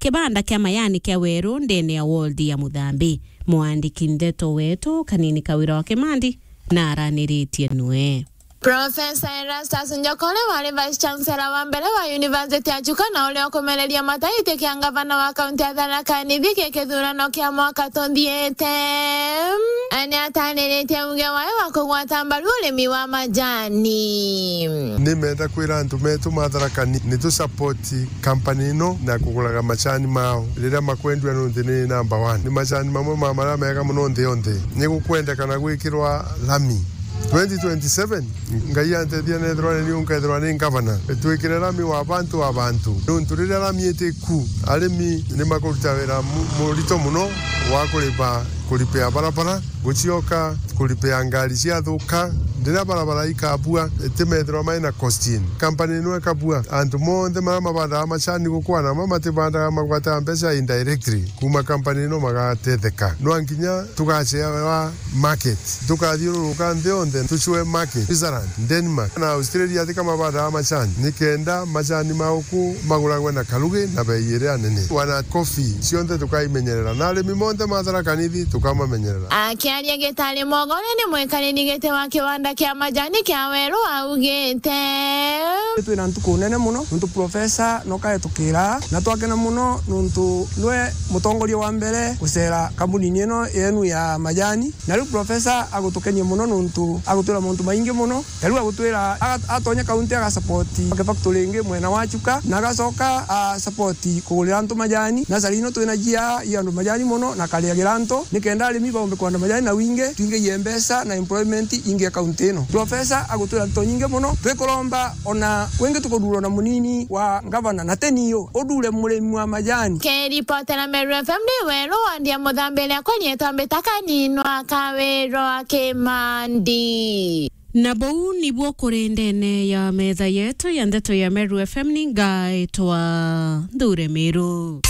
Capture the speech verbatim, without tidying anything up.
kibanda kia majani kia Weru ndene ya ward ya Muthambi. Mwandiki ndeto wetu Kanini Kawira wa Kimandi na araniritie nwe. Professor Erastus Njokore wari Vice Chancellor wa mbere wa University ya Chuka na uria ukumereria mataiti kia ngavana wa kaunti ya Tharaka Nithi ki kithurano kia mwaka tuthiite. Ni atariritie uge wae wa kugwata mbaru urimi wa majani. Ni menda kwira antu metu ma Tharaka Nithi ni tu support company ino na kuguraga macani mao riria makwendua, nontu ni number one. Ni macani mamwe ma maria mega mono nthi yonthe. Ni gukwendekana gwikirwa lami. Twenty twenty-seven, Ngai antethia nethirwa ni niu nkethirwa ni ngavana. Twikire lami wa bantu a bantu. Nontu riria lami iti ku, arimi ni makuruta wira mu-, murito mono wa kuripa, kuripia barabara. Gucioka kuripia ngari ciathuka, riria barabara ikabua, itimethirwa mai na cost in. Company ino ikabua, antu monthe maria mabandaga macani gukwana, ma matibandaga magwataga mbeca indirectly kuma company ino magatetheka. Nwa nkinya tugacewa market, tukathiururuka nthi yonthe, tucue market, Switzerland, Denmark, na Australia, tika mabandaga macani, nikenda macani ma ku maguragwe na karugi na bei iria nene. Wana coffee cionthe tukaimenyerera, na arimi monthe ma Tharaka Nithi tukamamenyerera. Akiaria Gitari Mogore ni mwikariri giti wa kiwanda kia majani kia Weru augite, twina ntuku nene mono nontu profesa noka etukira, na twakena mono nontu nwe mutongoria wa mbere gucera kambunini ino yenu ya majani, na riu profesa agutukenia mono nontu agutwira mauntu maingi mono. Na riu agutwira aga-, atonya kaunti aga support factory ingi mwena wa Chuka, na agacoka a support kugurira antu majani. Nasari ino twina jia i andu majani mono na kariagira antu, nikenda arimi baumbe kwanda majani na wingi, twingiie mbeca na employment ingi ya kaunti ino. Profesa agutwira nto nyingi mono, twikuromba ona wingi tukudurwa na munini wa ngavana na teniyo udure murimi wa majani. Kiripotera Meru F M ni Weru wa Ndia Muthambi, riakwa rietwa Mbita Kanini wa Kawirwa Kimandi. Na buu nibuo kuri ndene ya metha yetu ya ndeto ya Meru F M, ni ngaitwa Nthure Miru.